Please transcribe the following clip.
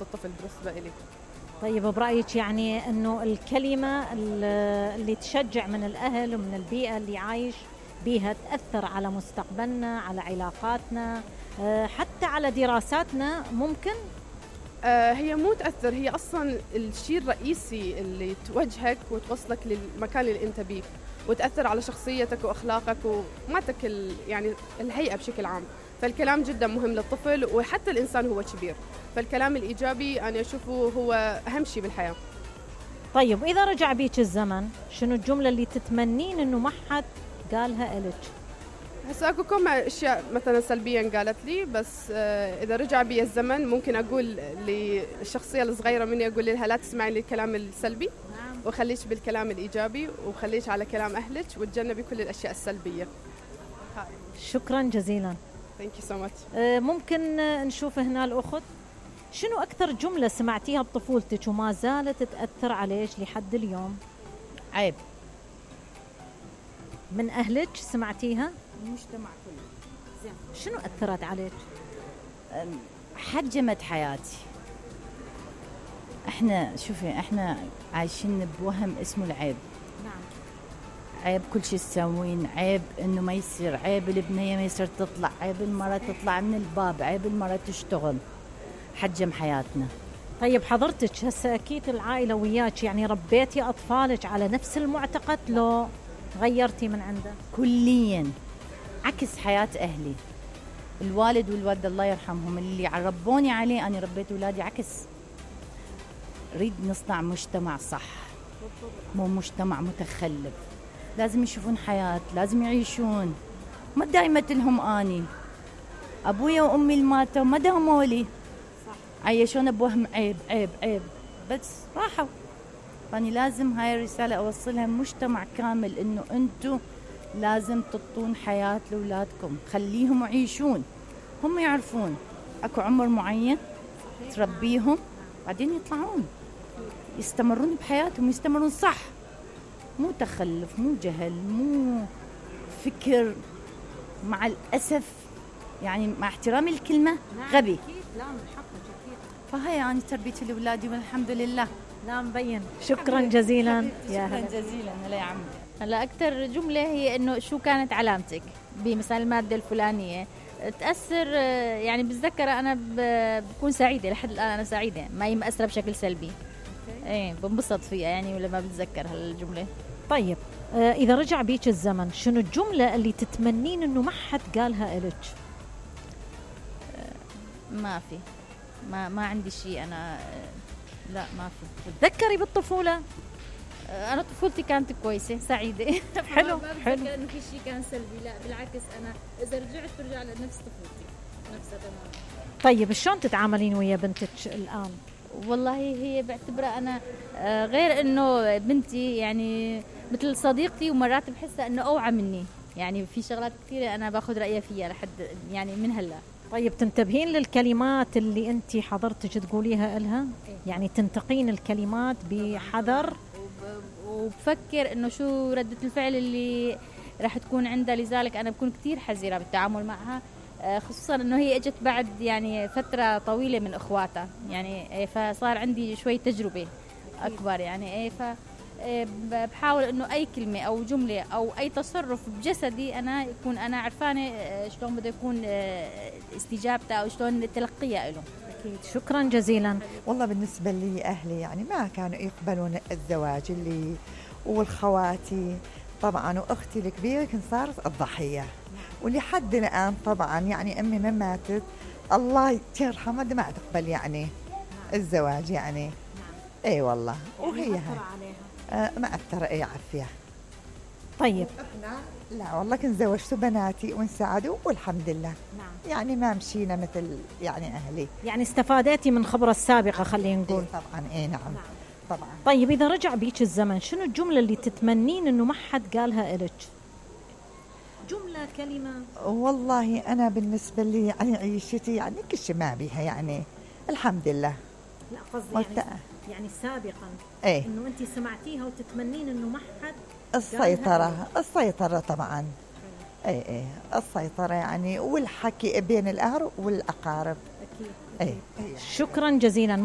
الطفل بالنسبة إلي. طيب برأيك يعني أنه الكلمة اللي تشجع من الأهل ومن البيئة اللي عايش بيها تأثر على مستقبلنا، على علاقاتنا، حتى على دراساتنا ممكن؟ هي مو تأثر، هي أصلا الشيء الرئيسي اللي توجهك وتوصلك للمكان اللي أنت بيه، وتأثر على شخصيتك وأخلاقك ومعتك يعني الهيئة بشكل عام. فالكلام جدا مهم للطفل وحتى الإنسان هو كبير، فالكلام الإيجابي أنا أشوفه هو أهم شيء بالحياة. طيب إذا رجع بيك الزمن شنو الجملة اللي تتمنين إنه ما حد قالها إلك؟ هسا اكو كم اشياء مثلا سلبيا قالت لي، بس اذا رجع بي الزمن ممكن اقول للشخصيه الصغيره مني، اقول لها لا تسمعي للكلام السلبي وخليش بالكلام الايجابي وخليش على كلام اهلك وتجنبي كل الاشياء السلبيه. شكرا جزيلا. ثانك يو سو ماتش. ممكن نشوف هنا الاخت، شنو اكثر جمله سمعتيها بطفولتك وما زالت تاثر عليك لحد اليوم؟ عيب. من اهلك سمعتيها؟ المجتمع كله. زين، شنو أثرت عليك؟ حجمت حياتي. احنا عايشين بوهم اسمه العيب. نعم. عيب كل شيء تسوين، عيب انه ما يصير، عيب البنية ما يصير تطلع، عيب المرأة تطلع من الباب، عيب المرأة تشتغل. حجم حياتنا. طيب حضرتك هسه اكيد العائلة وياك، يعني ربيتي اطفالك على نفس المعتقد لو غيرتي من عنده؟ كليا عكس حياة أهلي. الوالد والوالدة الله يرحمهم اللي ربوني عليه، أنا ربيت أولادي عكس. ريد نصنع مجتمع صح، مو مجتمع متخلف. لازم يشوفون حياة، لازم يعيشون. ما دايما لهم أني أبويا وأمي الماتوا ما داموا لي، عيشون بوهم عيب عيب عيب، بس راحوا. فأني لازم هاي الرسالة أوصلها مجتمع كامل، إنه أنتوا لازم تطون حياة لأولادكم، خليهم يعيشون، هم يعرفون أكو عمر معين تربيهم بعدين يطلعون يستمرون بحياتهم، يستمرون صح، مو تخلف، مو جهل، مو فكر. مع الأسف يعني مع احترامي الكلمة غبي. لا من حقك أكيد. فهي يعني تربيتي لأولادي والحمد لله. لا مبين. شكرا جزيلا. يا شكرا جزيلا. هلا يا عمي. هلا أكثر جملة هي إنه شو كانت علامتك بمثال المادة الفلانية تأثر، يعني بتذكر أنا بكون سعيدة لحد الآن، أنا سعيدة ما هي مأثرة بشكل سلبي. إيه بنبسط فيها يعني ولما بتذكر هالجملة. طيب إذا رجع بيك الزمن شنو الجملة اللي تتمنين إنه ما حد قالها إلك؟ ما في، ما عندي شيء أنا. لا ما في. تذكري بالطفولة؟ أنا طفولتي كانت كويسة سعيدة. حلو حلو. إنه في شيء كان سلبي، لا بالعكس، أنا إذا رجعت برجع لنفس طفولتي نفسها تمام. طيب شلون تتعاملين ويا بنتك الآن؟ والله هي بعتبرها أنا غير إنه بنتي يعني مثل صديقتي، ومرات بحسها إنه أوعى مني، يعني في شغلات كثيرة أنا باخذ رأيها فيها لحد يعني من هلا. طيب تنتبهين للكلمات اللي أنت حضرتك تقوليها إلها؟ يعني تنتقين الكلمات بحذر وبفكر إنه شو ردة الفعل اللي راح تكون عندها، لذلك أنا بكون كتير حذرة بالتعامل معها، خصوصا إنه هي اجت بعد يعني فترة طويلة من إخواتها، يعني فصار عندي شوي تجربة أكبر يعني. بحاول إنه أي كلمة أو جملة أو أي تصرف بجسدي أنا يكون أنا عرفانة شلون بده يكون استجابته أو شلون تلقيه له. أكيد. شكرا جزيلا. والله بالنسبة لي أهلي يعني ما كانوا يقبلون الزواج اللي، والخواتي طبعا وأختي الكبيرة كنت صارت الضحية، ولحد الآن طبعا يعني أمي من ماتت الله يرحمها ما تقبل يعني الزواج يعني. اي والله. وهي ما أثر أي عافية. طيب لا والله كنت زوجت بناتي وانسعدوا والحمد لله. نعم. يعني ما مشينا مثل يعني أهلي. يعني استفادتي من خبرة السابقة خلينا نقول. طبعا نعم. طبعا. طيب إذا رجع بيك الزمن شنو الجملة اللي تتمنين إنه ما حد قالها إلك؟ جملة، كلمة. والله أنا بالنسبة لي يعني عيشتي يعني كل شيء ما بيها يعني الحمد لله. لا قصدي يعني سابقا إنه أنت سمعتيها وتتمنين إنه ما حد. السيطرة طبعا. اي السيطرة يعني، والحكي بين الأهل والأقارب. أي. شكرا جزيلا.